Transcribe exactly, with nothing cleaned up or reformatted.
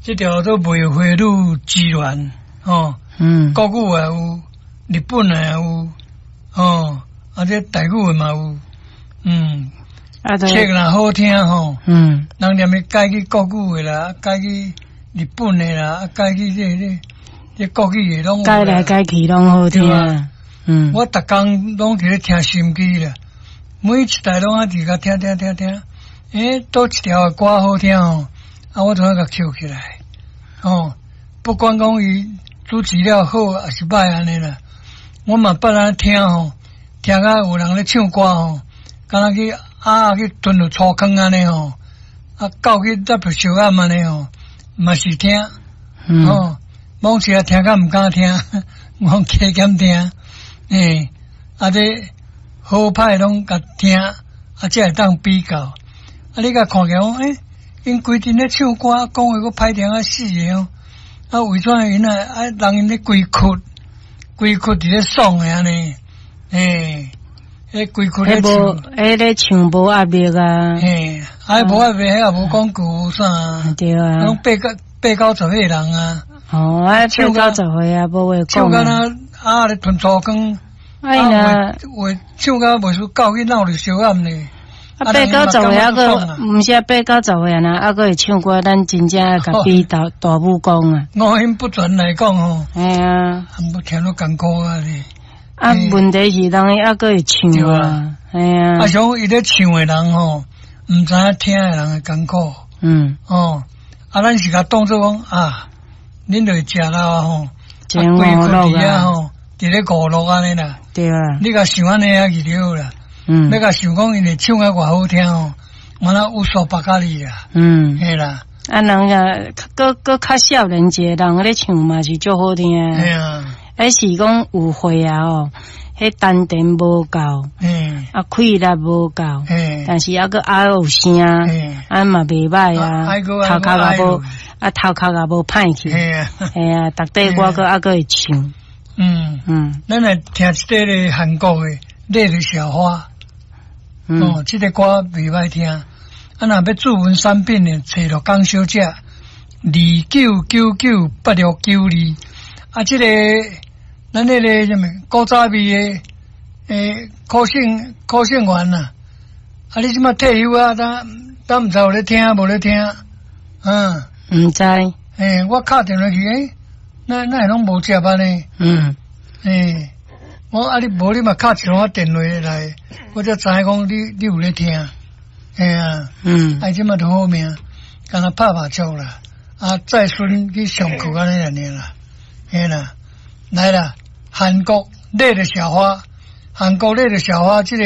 這條做梅花女之戀，哦，嗯，國語也有，日本的也有，哦，啊這台語的嘛有，嗯，啊，冊若好聽吼，嗯，人連咧改去國語的啦，改去日本的啦，改去這這這國語的攏改來改去攏好聽，嗯，我逐工攏佇咧聽收音機啦，每一台攏啊佇共聽聽聽聽，欸，佗一條歌好聽哦，啊，我就愛共抾起來，哦，不管講伊主持了好抑是䆀按呢啦，我嘛捌按呢聽吼，聽甲有人咧唱歌吼，敢若去鴨去吞入粗糠按呢吼，啊，狗去踏著燒暗按呢吼，嘛是聽，哦，某時啊聽甲毋敢聽，我加減聽，欸，啊這好歹攏共聽，啊才會當比較，啊你共看起來講，欸，𪜶規陣咧唱歌，講話閣歹聽啊死的哦，啊為怎𪜶啊啊人𪜶咧規窟規窟佇咧爽的按呢，欸，彼規窟咧唱，彼咧唱無壓力啊，嘿，啊無壓力，彼也無廣告無啥，對啊，攏八九八九十歲人啊，哦，啊八九十歲啊，無話講，唱敢若鴨咧吞粗糠，哎呀，話唱甲袂輸狗去鬧著燒暗呢。啊，八九十歲啊，閣毋是啊，八九十歲啊，啊閣會唱歌，咱真正共比大大武功啊。五音不全來講吼，嘿啊，無聽到艱苦啊咧。啊，問題是人伊猶閣會唱啊，嘿啊。啊，像伊咧唱的人吼，毋知影聽的人的艱苦。嗯。哦，啊，咱是共當做講啊，恁就會食啦吼，真娛樂啊吼，佇咧娛樂按呢啦。對啊。你共想按呢啊去就好啦。嗯，欲共想講𪜶會唱甲偌好聽哦，我那有所不甲你啦。嗯，嘿啦。啊，人啊，閣閣較少年一個人咧唱嘛是足好聽。嘿啊。彼是講有歲啊吼，彼丹田無夠，嗯，啊氣力無夠，嗯，但是猶閣猶有聲，啊嘛袂䆀啊，頭殼也無，啊頭殼也無歹去，嘿啊，嘿啊，逐塊歌閣猶閣會唱。嗯嗯，咱來聽一塊咧韓國的《烈日小花》。哦，這個歌袂䆀聽。啊，若欲諮詢產品的，揣陸江小姐，二九九九八六九二。啊，這個咱彼个啥物古早味的，欸，柯姓柯姓員啊。啊，你這馬退休啊？敢敢毋知有咧聽無咧聽？嗯，毋知。欸，我敲電話去，欸，哪哪會攏無接按呢？嗯。欸，我啊你無你嘛敲一通電話來，我才知影講你你有咧聽。嘿啊，嗯，啊這馬都好命，敢若拍麻將啦，啊載孫去上課按呢爾啦，嘿啦，來啦，韓國烈日小花，韓國烈日小花這個。